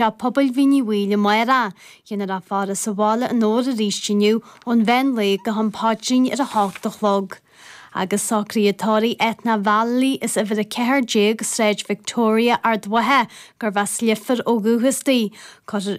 Teach Pobail Mhín Uí Bhaoill amárach. Déanfar í a fhaire sa bhaile in Dobhar arís inniu ón mheán lae go ham paidrín ar 8 a chlog. Agus socruithe tórraimh Ethna Vallely as uimhir 14, Sráid Victoria, Ard Mhacha, gurbh as Leifear ó dhúchas di. Cuirfear.